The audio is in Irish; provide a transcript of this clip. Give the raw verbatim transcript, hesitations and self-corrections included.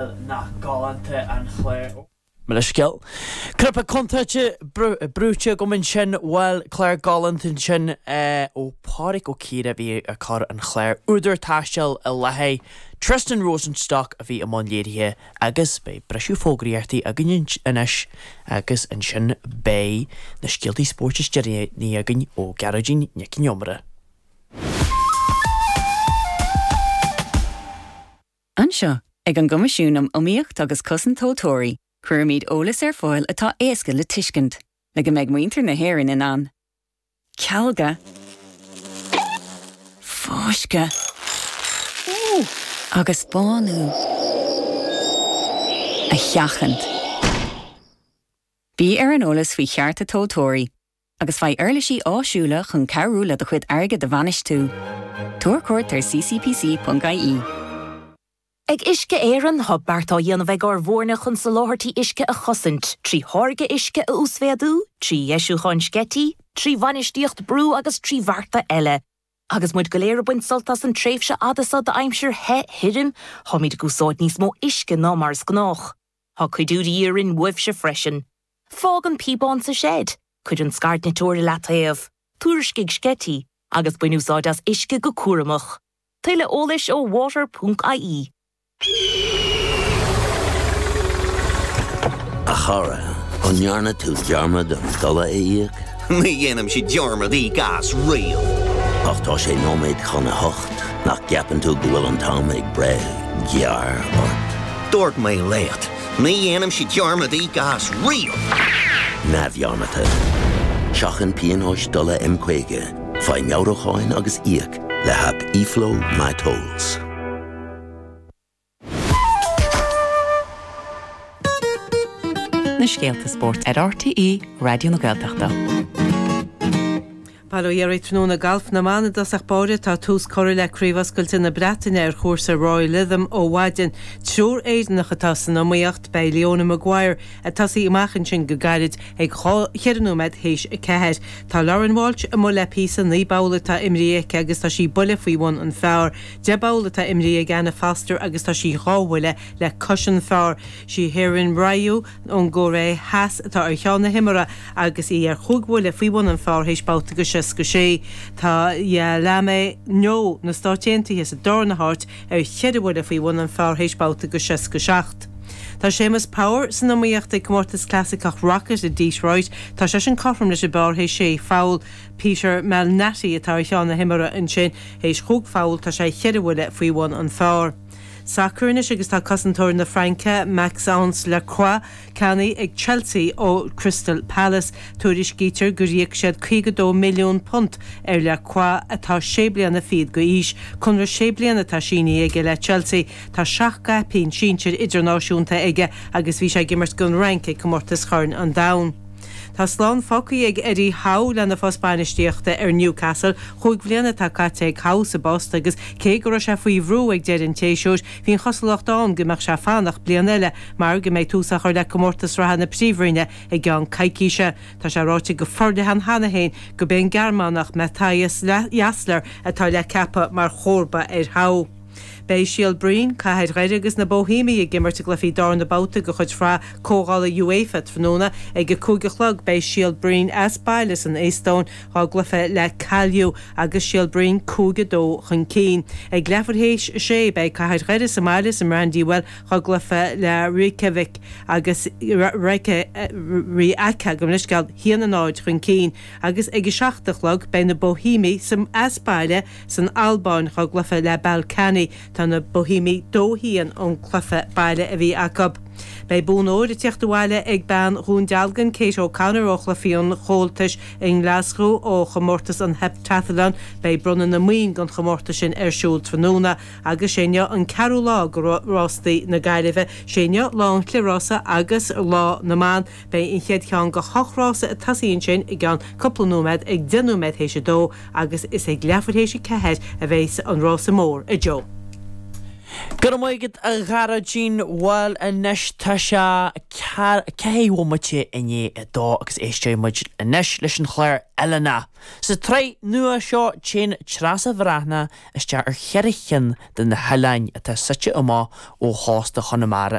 Nach galánta an clár. Mo leithscéal. Cnaipe contúirte brúite agam ansin, bhuel, clár galánta ansin ó Pádraig Ó Ciardha a bhí ag cur an chláir Údar Taistil i láthair. Tristan Rosenstock a bhí i mbun léirithe agus beidh briseadh fógraíochtaí againn anois agus ansin beidh na scéaltaí spóirt is deireanaí againn ó Gearóidín Nic an Iomaire. Anseo, ag an gCoimisiún um Iomaíocht agus Cosaint Tomhaltóirí, cuirimid eolas ar fáil atá éasca le tuiscint, le go mbeidh muintir na hÉireann in ann cealga, fáisceadh agus bánú a sheachaint. Bí ar an eolas faoi chearta tomhaltóirí agus faigh uirlisí áisiúla chun cabhrú le do chuid airgid a bhainistiú. Tabhair cuairt ar ccpc.ie. Ag Uisce Éireann, tá beart á dhéanamh ag ár bhfoirne chun soláthairtí uisce a chosaint, trí tháirgeadh uisce a uasmhéadú, trí dheisiúcháin sceití, trí bhainistíocht brú agus trí bhearta eile. Agus muid go léir ag baint sult as an tréimhse fhada seo d'aimsir the thirim, táimid ag úsáid níos mó uisce ná mar is gnách. Tá cuidiú de dhíth orainn uaibhse freisin. Fág an píobán sa seid, cuir an scairdniteoir i leataobh, tuairiscigh sceití, agus bain úsáid as uisce go cúramach. Tuilleadh eolais ó water.ie. A chara, an ndearna tú dearmad an dola a íoc? Ní dhéanaimse dearmad íoc as riamh. Ach tá sé nóiméad chun a hocht, nach gceapann tú go bhfuil an t-am ag breith gearr ort? Dúirt mé leat, ní dhéanaimse dearmad íoc as riamh! Neamhdhearmadta. Seachain pionóis dola M caoga, faigh meabhrúcháin agus íoc le haip eFlow MyTolls. Na scéalta spóirt ar RTÉ Raidió na Gaeltachta. Bail ó Dhia oraibh tráthnóna Galf na mban i dtosach báire tá tús curtha le Craobh Oscailte na Breataine ar chúrsa Royal Lytham ó mhaidin. Triúr Éireannach atá san iomaíocht. Beidh Leona Maguire ag tosaí amach ansin go gairid ag dhá cheithre nóiméad théis a ceathair. Tá Lauren Walsh amuigh le píosa, naoi bpoll atá imrithe aici agus tá sí buille faoi bhun an phar. Deich bpoll atá imrithe ag Anna Foster agus tá sí dhá bhuille le cois an phar. Sí Haerin Ryu ón gCóiré Theas atá ar cheann na himeartha agus í ar chúig bhuille faoi bhun an phar théis babhta go seasca sé. Tá Yealimi Noh na Stáit Aontaithe sa darna háit ar cheithre bhuille faoi bhun an phar théis babhta go seasca seacht. Tá Séamus Power san iomaíocht ag Comórtas Clasaiceach Rocket i Detroit. Tá seisean cothrom leis an bpar théis sé pholl. Peter Malnati atá ar cheann na himeartha ansin théis chúig pholl, tá sé cheithre bhuille faoi bhun an phar. Sacar anois agus tá cosantóir na Fraince, Maxence Lacroix, ceannaithe ag Chelsea ó Crystal Palace. Tuairiscítear gur íoc siad caoga dó milliún punt ar Lacroix atá sé bliana fichead d'aois. Conradh sé bliana atá sínithe aige le Chelsea. Tá seacht gcaipín sinsir idirnáisiúnta aige agus bhí sé ag imirt don Fhrainc ag Comórtas Chorn an Domhain. Tá slán fágtha ag Eddie Howe lena phost bainistíochta ar Newcastle. Chúig bhliana atá caite ag Howe sa bpost agus cé go raibh sé faoi bhrú ag deireadh an tséasúir, bhí an chosúlacht ann go mbeadh sé fanacht bliain eile mar go mbeidh tús á chur le comórtas reatha na Príomhroinne i gceann coicíse. Tá sé ráite go forleathan cheana féin gurb é an Gearmánach Matthias Jaissle atá le ceapadh mar chomharba ar Howe. Beidh Síol Bhroin, Cathair Dhoire agus na Boihéamaigh ag imirt i gcluichí darna babhta de chuid Shraith Comhdhála UEFA tráthnóna ag a cúig a chlog. Beidh Síol Bhroin as baile san Eastóin dhá gcluiche le Kalju agus Síol Bhroin cúig a dó chun cinn. Ag leathuair théis a sé beidh Cathair Dhoire sa mbaile sa mBrandywell dhá gcluiche le Reykjavik agus Rijeka, gabh mo leithscéal, haon a náid chun cinn agus ag a seacht a chlog beidh na Boihéamaigh as baile san Albáin dhá gcluiche le Ballkani. Tá na Boihéamaigh dó haon ón gcluiche baile a bhí acu. Beidh bonn óir ag teacht abhaile ag bean Dhún Dealgan, Kate O'Connor ó Chluichí an Chomhaltais i nGlaschú ó chomórtas an Heptathlon. Beidh bronnadh na mboinn don chomórtas sin ar siúl tráthnóna agus sé inniu an ceathrú lá de rástaí na Gaillimhe. Sé inniu lá an chliathrása agus lá na mban. Beidh an chéad cheann de hocht rása ag tosaí ansin i gceann cúpla nóiméad ag deich nóiméad théis a dó agus is ag leathuair théis a ceathair a bheas an rása mór a Joe. Go raibh maith agat a Ghearóidín bhuel anois tá sé ceithre bhomaite i ndiaidh a dó agus éisteoidh muid anois leis an chlár Oileánach. Sa tsraith nua seo téann Treasa Bhreathnach isteach ar cheithre chinn de na hoileáin atá suite amach ó chósta Chonamara.